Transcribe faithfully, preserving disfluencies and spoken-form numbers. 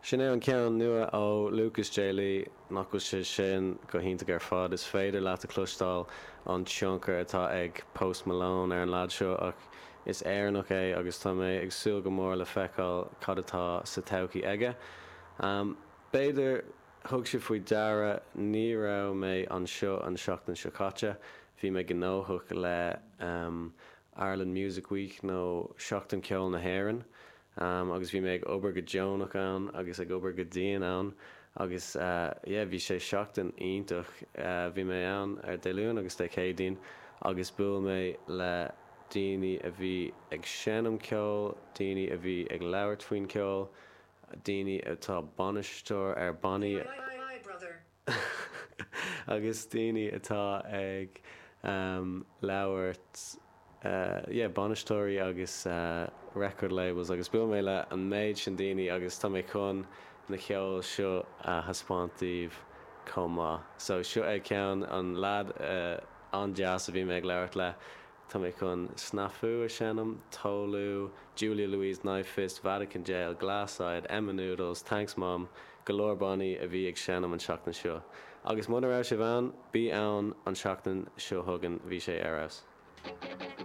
Sin é an ceann nua ó Lucas J. Lee nach bhfuil sé sin go hiontach ar fad is féidir leat a chloisteáil an tionchar atá ag Post Malone ar an lad seo ach is Éireannach é agus tá mé ag súil go mór le feiceáil cad atá sa todhchaí aige. Um, B'fhéidir thug sibh faoi deara ní raibh mé anseo an seachtain seo caite, bhí mé gnóthach le um, Ireland Music Week nó Seachtain Ceoil na hÉireann. Um, agus bhí mé ag obair go deonach ann agus ag obair go dian ann agus uh, yeah, bhí sé seachtain iontach uh, bhí mé ann ar Dé Luain agus Dé Céadaoin agus bhuail mé le daoine a bhí ag seinm ceoil, daoine a bhí ag labhairt faoin ceol, daoine atá bainisteoir ar bannaí agus daoine atá ag um, labhairt uh, yeah, bainisteoirí agus uh, record labels agus bhuail mé le an méid sin daoine agus tá mé chun na ceol seo a thaispeáint daoibh chomh maith. So seo é ceann an lad uh, an-deas a bhí mé ag labhairt le Tá mé chun Snafu a sheinm, Tolu, Julia Louise Knifefist, Vatican Jail, Glasside, Emma Noodles, Thanks Mom, go leor bannaí a bhí ag seinm an seachtain seo. Agus muna raibh sibh ann, bí ann an seachtain seo chugainn bhí sé ar fheabhas.